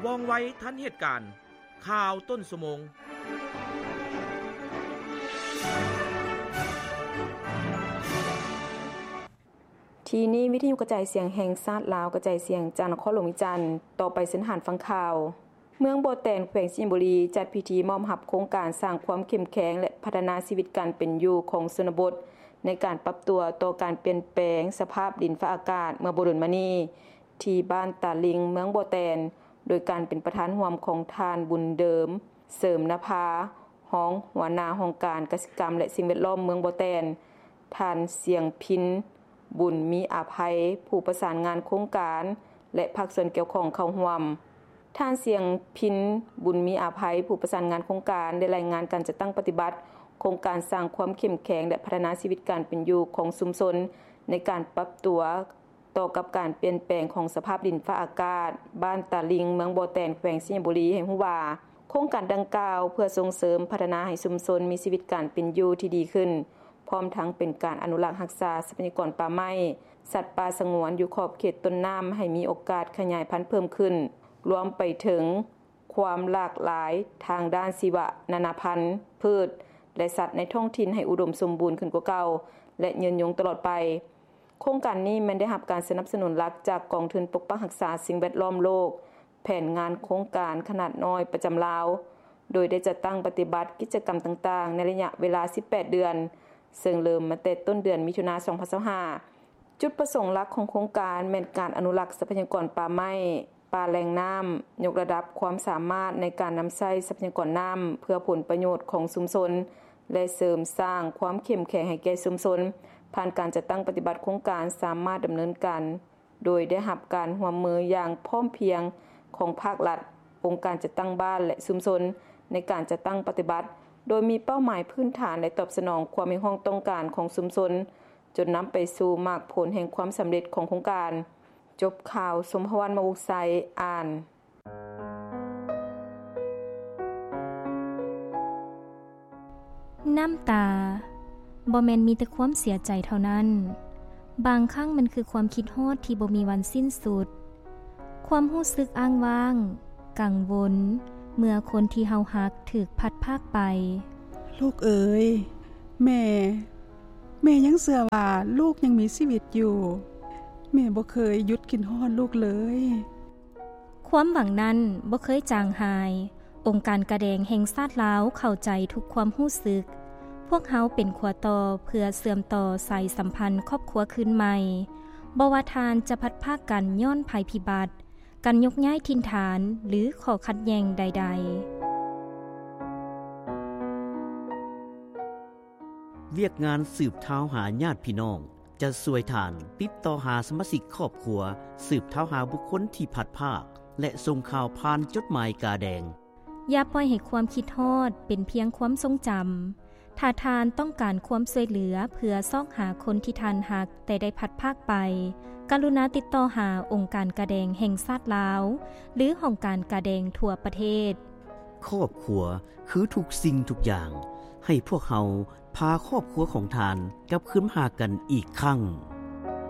ວ່ອງໄວທັນເຫດການ. ຂ່າວຕົ້ນຊົ່ວໂມງ. ທີ່ນີ້ ວິທະຍຸກະຈາຍສຽງແຫ່ງຊາດລາວ ກະຈາຍສຽງຈາກນະຄອນຫຼວງວຽງຈັນ. ຕໍ່ໄປເຊີນທ່ານຟັງຂ່າວ. ເມືອງບໍ່ແຕນ ແຂວງໄຊຍະບູລີ ຈັດພິທີມອບຮັບໂຄງການສ້າງຄວາມເຂັ້ມແຂງ ແລະ ພັດທະນາຊີວິດການເປັນຢູ່ຂອງຊົນນະບົດ ໃນການປັບຕົວຕໍ່ການປ່ຽນແປງສະພາບດິນຟ້າອາກາດ ເມື່ອບໍ່ດົນມານີ້ ທີ່ບ້ານຕາລິງ ເມືອງບໍ່ແຕນ ໂດຍການເປັນປະທານຮ່ວມຂອງທ່ານ ບຸນເດີມ ເສີມນະພາ ຮອງຫົວໜ້າຫ້ອງການກະສິກຳ ແລະ ສິ່ງແວດລ້ອມເມືອງບໍ່ແຕນ, ທ່ານ ສຽງພິນ ບຸນມີອາໄພ ຜູ້ປະສານງານໂຄງການ ແລະ ພາກສ່ວນກ່ຽວຂ້ອງເຂົ້າຮ່ວມ. ທ່ານ ສຽງພິນ ບຸນມີອາໄພ ຜູ້ປະສານງານໂຄງການ ໄດ້ລາຍງານການຈັດຕັ້ງປະຕິບັດໂຄງການສ້າງຄວາມເຂັ້ມແຂງ ແລະ ພັດທະນາຊີວິດການເປັນຢູ່ຂອງຊຸມຊົນ ໃນການປັບຕົວ ຕໍ່ກັບການປ່ຽນແປງຂອງສະພາບດິນຟ້າອາກາດ ບ້ານຕາລິງ ເມືອງບໍ່ແຕນ ແຂວງໄຊຍະບູລີ ໃຫ້ຮູ້ວ່າ ໂຄງການດັ່ງກ່າວເພື່ອສົ່ງເສີມພັດທະນາໃຫ້ຊຸມຊົນມີຊີວິດການເປັນຢູ່ທີ່ດີຂຶ້ນ, ພ້ອມທັງເປັນການອະນຸລັກຮັກສາຊັບພະຍາກອນປ່າໄມ້, ສັດປ່າສະຫງວນຢູ່ຂອບເຂດຕົ້ນນ້ຳ ໃຫ້ມີໂອກາດຂະຫຍາຍພັນເພີ່ມຂຶ້ນ, ລວມໄປເຖິງຄວາມຫຼາກຫຼາຍທາງດ້ານຊີວະນານາພັນ, ພືດ ແລະ ສັດໃນທ້ອງຖິ່ນໃຫ້ອຸດົມສົມບູນຂຶ້ນກວ່າເກົ່າ ແລະ ຍືນຍົງຕະຫຼອດໄປ. ໂຄງການນີ້ແມ່ນໄດ້ຮັບການສະໜັບສະໜູນຫຼັກຈາກກອງທຶນປົກປັກຮັກສາສິ່ງແວດລ້ອມໂລກ, ແຜນງານໂຄງການຂະໜາດນ້ອຍປະຈຳລາວ, ໂດຍໄດ້ຈັດຕັ້ງປະຕິບັດກິດຈະກຳຕ່າງໆ ໃນໄລຍະເວລາສິບແປດເດືອນ, ເຊິ່ງເລີ່ມມາແຕ່ຕົ້ນເດືອນມິຖຸນາ ສອງພັນຊາວຫ້າ. ຈຸດປະສົງຫຼັກຂອງໂຄງການແມ່ນການອະນຸລັກຊັບພະຍາກອນປ່າໄມ້, ປ່າແຫຼ່ງນ້ຳ, ຍົກລະດັບຄວາມສາມາດໃນການນຳໃຊ້ຊັບພະຍາກອນນ້ຳເພື່ອຜົນປະໂຫຍດຂອງຊຸມຊົນ ແລະ ເສີມສ້າງຄວາມເຂັ້ມແຂງໃຫ້ແກ່ຊຸມຊົນ. ຜ່ານການຈັດຕັ້ງປະຕິບັດໂຄງການສາມາດດຳເນີນການໂດຍໄດ້ຮັບການຮ່ວມມືຢ່າງພ້ອມພຽງຂອງພາກລັດ, ອົງການຈັດຕັ້ງບ້ານ ແລະ ຊຸມຊົນ ໃນການຈັດຕັ້ງປະຕິບັດ, ໂດຍມີເປົ້າໝາຍພື້ນຖານ ແລະ ຕອບສະໜອງຄວາມຮຽກຮ້ອງຕ້ອງການຂອງຊຸມຊົນ, ຈົນນຳໄປສູ່ໝາກຜົນແຫ່ງຄວາມສຳເລັດຂອງໂຄງການ. ຈົບຂ່າວ, ສົມພະວັນ ມະວົງໄຊ ອ່ານ. ນ້ຳຕາ ບໍ່ແມ່ນມີແຕ່ຄວາມເສຍໃຈເທົ່ານັ້ນ, ບາງຄັ້ງມັນຄືຄວາມຄິດຮອດທີ່ບໍ່ມີວັນສິ້ນສຸດ, ຄວາມຮູ້ສຶກອ້າງວ້າງ, ກັງວົນ ເມື່ອຄົນທີ່ເຮົາຮັກຖືກພັດພາກໄປ. ລູກເອີຍ, ແມ່, ແມ່ຍັງເຊື່ອວ່າລູກຍັງມີຊີວິດຢູ່. ແມ່ບໍ່ເຄີຍຢຸດຄິດຮອດລູກເລີຍ. ຄວາມຫວັງນັ້ນບໍ່ເຄີຍຈາງຫາຍ. ອົງການກາແດງແຫ່ງຊາດລາວເຂົ້າໃຈທຸກຄວາມຮູ້ສຶກ. ພວກເຮົາເປັນຂົວຕໍ່ເພື່ອເຊື່ອມຕໍ່ສາຍສຳພັນຄອບຄົວຄືນໃໝ່. ບໍ່ວ່າທ່ານຈະພັດພາກກັນຍ້ອນໄພພິບັດ, ການຍົກຍ້າຍຖິ່ນຖານ ຫຼື ຂໍ້ຂັດແຍ່ງໃດໆ. ວຽກງານສືບທາວຫາຍາດພີ່ນ້ອງ ຈະຊ່ວຍທ່ານຕິດຕໍ່ຫາສະມາຊິກຄອບຄົວ, ສືບທາວຫາບຸກຄົນທີ່ພັດພາກ ແລະ ສົ່ງຂ່າວຜ່ານຈົດໝາຍກາແດງ. ຢ່າປ່ອຍໃຫ້ຄວາມຄິດຮອດເປັນພຽງຄວາມຊົງຈຳ. ຖ້າທ່ານຕ້ອງການຄວາມຊ່ວຍເຫຼືອເພື່ອຊອກຫາຄົນທີ່ທ່ານຮັກແຕ່ໄດ້ພັດພາກໄປ, ກະລຸນາຕິດຕໍ່ຫາອົງການກາແດງແຫ່ງຊາດລາວ ຫຼື ຫ້ອງການກາແດງທົ່ວປະເທດ. ຄອບຄົວຄືທຸກສິ່ງທຸກຢ່າງ. ໃຫ້ພວກເຮົາພາຄອບຄົວຂອງທ່ານກັບຄືນມາຫາກັນອີກຄັ້ງ.